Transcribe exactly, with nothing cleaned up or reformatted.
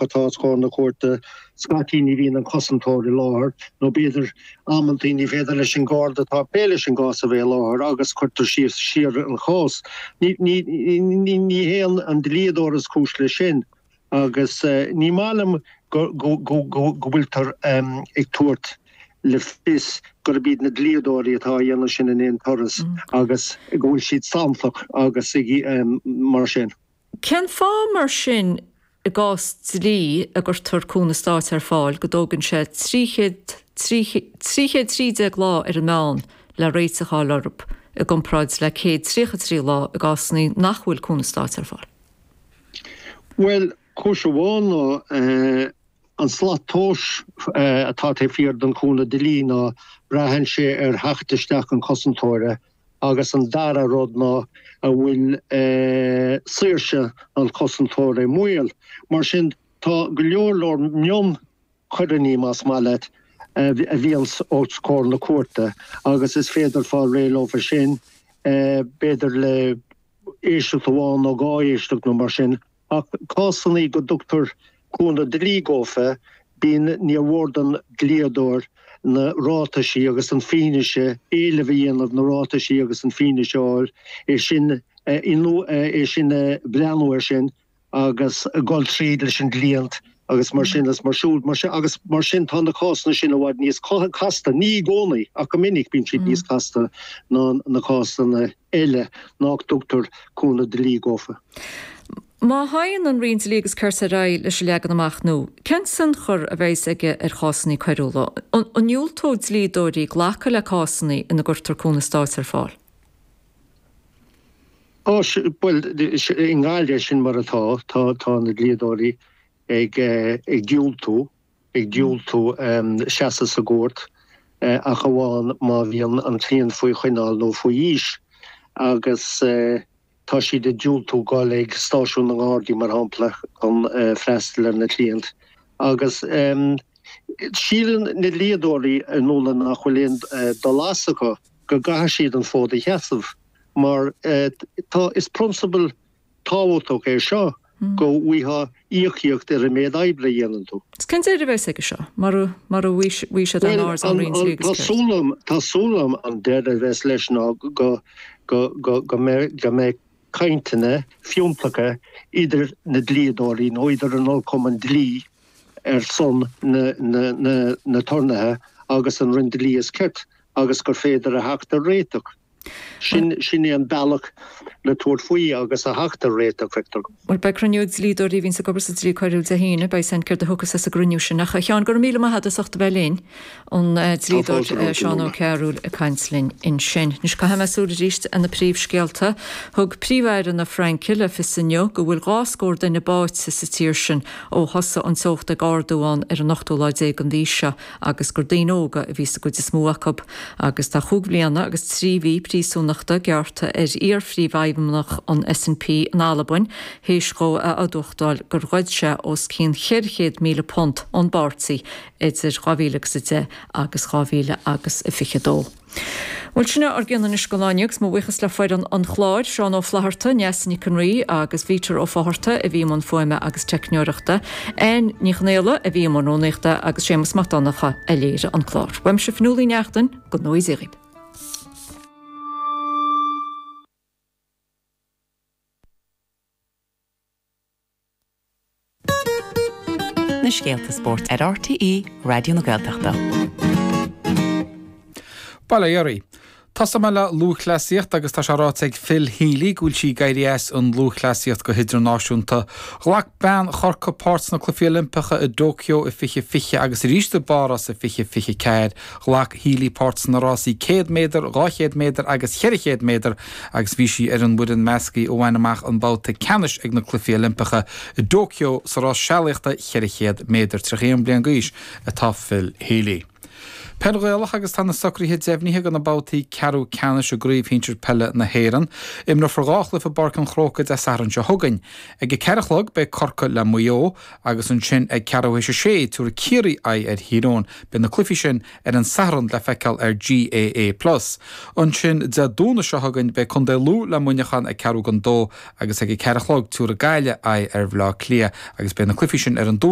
atá os comhair na cúirte, scaití ní bhíonn an cosantóir i láthair nó b'fhéidir amantaí ní féidir leis an Garda atá ag plé leis an gcás a bheith i láthair agus cuirtear síos siar an chás. Ní ní hé an dlíodóir is cúis leis sin agus ní maith liom go go go go bhfuiltear ag tabhairt le fios gurb iad na dlíodóirí atá á dhéanamh sin in aon turas agus go bhfuil siad santach agus mar sin. Cén fáth mar sin i gcás dlí a gcuirtear cúnamh stáit ar fáil go dtógann sé trí chéad trí chéad trí déag lá ar an meán le réiteach a fháil orthu i gcomparáid le céad tríocha trí lá i gcásanna nach bhfuil cúnamh stáit ar fáil? Bhuel, cúis amháin ná an slat tomhais atá taobh thiar den chúnamh dlí ná braitheann sé ar theacht isteach an chosantóra agus an dara rud ná an bhfuil saoirse an chosantóra i mbaol. Mar sin, tá go leor leor mionchoireanna, más maith leat, a bhíonns os comhair na cúirte agus is féidir fáil réidh leofa sin, b'fhéidir le éisteacht amháin nó dhá éisteacht nó mar sin. Ach cásanna go dtugtar cúnamh dlí dhófa, bíonn, níor mhór don dlíodóir na ráitaisí agus an fianaise, éileamh a dhéanamh, na ráitaisí agus an fianaise a fháil, é sin é sin a breathnú air sin agus dul tríd leis an gcliant agus mar sin is mar siúd mar sin agus mar sin tá na cásanna sin i bhfad níos casta, ní i gcónaí ach go minic bíonn siad níos casta ná na cásanna eile nach dtugtar cúnamh dlí dhófa. Má théann an Roinn Dlí agus Cirt ar aghaidh leis an leagan amach nua, cén tionchar a bheas aige ar chásanna coiriúla? An ndiúltóidh dlíodóirí glacadh le cásanna ina gcuirtear cúnamh stáit ar fáil? Á, bhuel, i nGaillimh sin mar atá, tá tá na dlíodóirí ag ag diúltú, ag diúltú seasamh sa gcúirt ach amháin má bhíonn an cliant faoi choinneáil nó faoi aois agus Tá siad ag diúltú dul ag stáisiún na nGardaí, mar shampla, chun freastal ar na cliaint. Agus síleann na dlíodóirí a Nuala nach bhfuil aon dul as acu, go gcaithfidh siad an fód a sheasamh, mar tá, is prionsabal tábhachtach é seo, go bhfaighfeá íocaíocht ar an méid oibre a dhéanann tú. Cén deireadh a bheas aige seo, mura bhfaighidh siad aon aird ón Roinn Dlí agus Cirt? Bhuel, tá súil agam an deireadh a bheas leis ná go go mbeidh cainteanna fiúntacha idir na dlíodóirí nó idir an Ollchumann Dlí ar son na n-aturnaetha agus an Roinn Dlí is Cirt agus gur féidir a theacht ar réiteach. Sin sin é an bealach le tabhairt faoi agus a theacht ar réiteach, feictear dom. Bhuel, beidh cruinniú ag dlíodóirí a bhíonns ag obair sa dlí coiriúil Dé hAoine. Beidh a fhios againn céard a thiocfas as an gcruinniú sin. Ach, a Sheáin, go raibh míle maith agat as ucht a bheith linn. An dlíodóir Seán Ó Cearúil ag caint linn ansin. Anois caithfidh mé súil arís ar na príomhscéalta. Thug Príomh-Aire na Fraince le fios inniu go bhfuil dhá scór duine báite sa tír sin ó thosaigh an teocht ag ardú ann ar an ochtú lá déag den mhí seo agus gur daoine óga a bhí sa gcuid is mó acu. Agus tá chúig bhliana agus trí mhí príosúnachta gearrtha ar iar-phríomhfheidhmeannach an SNP in Albain théis dhó a admhachtáil gur ghoid sé os cionn cheithre chéad míle punt ón bpáirtí idir dhá mhíle agus a deich agus dhá mhíle agus a fiche dó. Bhuel, sin é ár gcion anois don lá inniu agus mo bhuíochas le foireann an chláir, Seán Ó Flatharta, Neasa Nic an Rí agus Peter Ó Fátharta a bhí i mbun fuaime agus teicneoireachta, Anne Ní Chonaola a bhí i mbun rúnaíochta agus Séamus Mac Donncha a léirigh an clár. Uaimse Fionnuala Ní Neachtain, go ngnóthaí Dia dhaoibh. Na scéalta spóirt ar RTÉ Raidió na Gaeltachta. Bail ó Dhia oraibh. Tosóidh mé le lúthchleasaíocht agus tá sé ráite ag Phil Healy go bhfuil sí ag éirí as an lúthchleasaíocht go hidirnáisiúnta. Ghlac bean Chorcaí páirt sna Cluichí Oilimpeacha i dTóiceo i fiche fiche agus arís i bPáras i fiche fiche ceathair. Ghlac Healy páirt sna rásaí céad méadar, dhá chéad méadar agus cheithre chéad méadar agus bhí sí ar an bhfoireann measctha a bhain amach an babhta ceannais ag na Cluichí Oilimpeacha i dTóiceo sa rás sealaíochta cheithre chéad méadar. Tríocha a haon bliain d'aois atá Phil Healy. Peil Ghaelach agus tá na socruithe deimhnithe do na babhtaí ceathrú ceannais i gCraobh Shinsir Peile na hÉireann. Imreofar dhá chluiche i bPáirc an Chrócaigh Dé Sathairn seo chugainn. Ag a ceathair a chlog beidh Corcaigh le Maigh Eo agus ansin ag ceathrú théis a sé tabharfaidh Ciarraí aghaidh ar Thír Eoghain. Beidh na cluichí sin ar an Satharn le feiceáil ar GAA Plus. Ansin Dé Domhnaigh seo chugainn beidh Contae Lú le Muineachán ag ceathrú don dó agus ag a ceathair a chlog tabharfaidh Gaillimh aghaidh ar Bhaile Átha Cliath agus beidh na cluichí sin ar an Domhnach.